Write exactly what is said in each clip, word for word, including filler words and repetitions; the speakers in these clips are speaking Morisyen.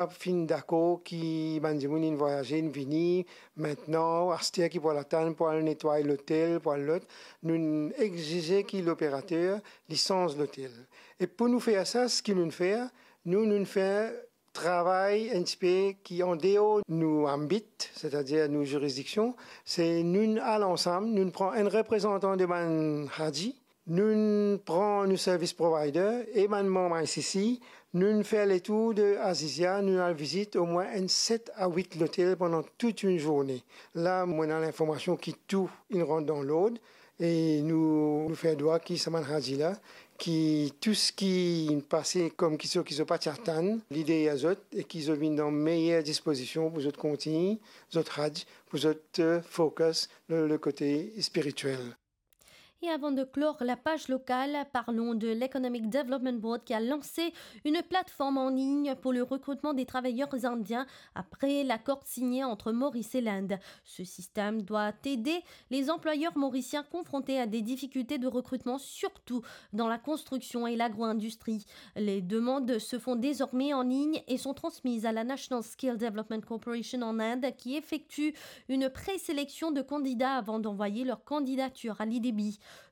Ap finn dakor ki bann dimoun inn vwayaze, inn vini, mintnan, aster ki pou al atann, pou al netway lotel, pou al lot, nou'nn exize ki loperater, li sanz lotel. E pou nou fer sa, seki nou'nn fer, nou, nou'nn fer travay enn tipe ki andeor nou anbit, setadir nou zirizidiksion, se nou'nn al ansam, nou'nn pran enn reprezantan de bann Hadji, nou'nn pran nou service provider e bann manm I C C, nou'nn fer letour de Azizia, nou'nn al vizit omwin enn set a wit lotel pandan tou enn zourne. La, mo ena linformasion ki tou inn rant dan lord e nou, nou fer dwa ki sa bann Hadji la, ki tou seki inn pase kom ki so, ki zot pa ti atann, li deryer zot e ki zot vinn dan meyer dispozision pou zot kontign zot Hadj, pou zot, eh, focus le, le kote spirituel. Et avant de clore la page locale, parlons de l'Economic Development Board qui a lancé une plateforme en ligne pour le recrutement des travailleurs indiens après l'accord signé entre Maurice et l'Inde. Ce système doit aider les employeurs mauriciens confrontés à des difficultés de recrutement, surtout dans la construction et l'agro-industrie. Les demandes se font désormais en ligne et sont transmises à la National Skill Development Corporation en Inde, qui effectue une présélection de candidats avant d'envoyer leur candidature à l'I D B.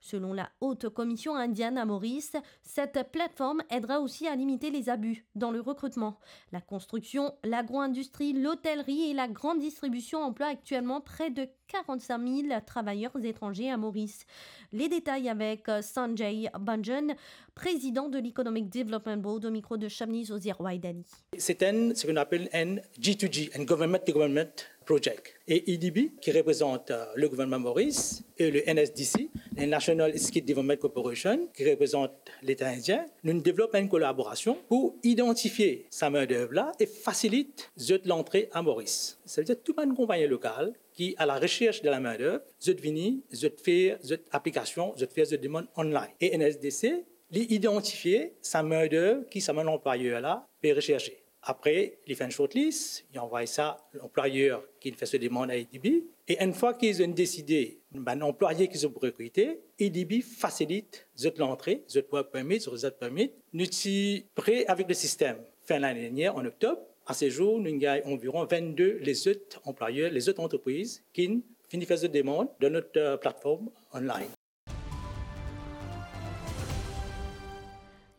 Selon la Haute Commission indienne à Maurice, cette plateforme aidera aussi à limiter les abus dans le recrutement. La construction, l'agro-industrie, l'hôtellerie et la grande distribution emploient actuellement près de quarante-cinq mille travailleurs étrangers à Maurice. Les détails avec, euh, Sanjay Banjan, président de l'Economic Development Board, au micro de Shamni Zozier Waidani. C'est un, ce qu'on appelle un G to G, un government to government project. Et E D B, qui représente, euh, le gouvernement Maurice, et le N S D C, le National Skill Development Corporation, qui représente l'État indien, nous développons une collaboration pour identifier sa main-d'œuvre là et facilite zot l'entrée à Maurice. Ça veut dire tout bann konpagni lokal ki à la recherche de la main-d'œuvre, zot vini, zot fer zot aplikasion, zot fer zot demann online. E N S D C, li idantifie sa main-d'œuvre ki sa bann anplwayer la pe recherche. Apre, li fer enn shortlist, li anvway sa lanplwayer ki fer so demann a E D B. E enn fwa ki zot inn deside bann anplwaye ki zot pou rekrite, E D B fasilit zot lantre, zot work permit, zot resident permit. Nou ti pre avek le sistem fin lane dernier, an oktob. A se zour, nou gagn anviron vennde lezot anplwayer, lezot antrepriz ki fini fer zot demann dan not, euh, platform online.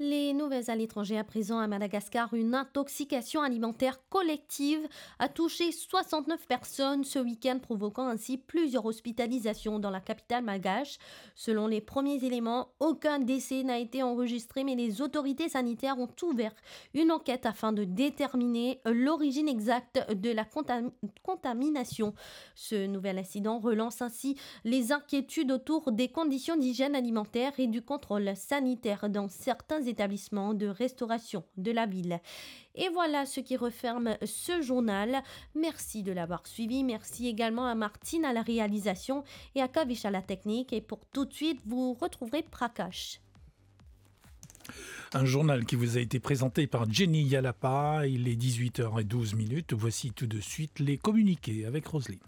Les nouvelles à l'étranger à présent à Madagascar. Une intoxication alimentaire collective a touché soixante-neuf personnes ce week-end, provoquant ainsi plusieurs hospitalisations dans la capitale malgache. Selon les premiers éléments, aucun décès n'a été enregistré, mais les autorités sanitaires ont ouvert une enquête afin de déterminer l'origine exacte de la contam-, contamination. Ce nouvel incident relance ainsi les inquiétudes autour des conditions d'hygiène alimentaire et du contrôle sanitaire dans certains établissements de restauration de la ville. Et voilà ce qui referme ce journal. Merci de l'avoir suivi. Merci également à Martine à la réalisation et à Kavish à la technique. Et pour tout de suite, vous retrouverez Prakash. Un journal qui vous a été présenté par Jenny Yalapa. Il est dix-huit heures et douze minutes. Voici tout de suite les communiqués avec Roselyne.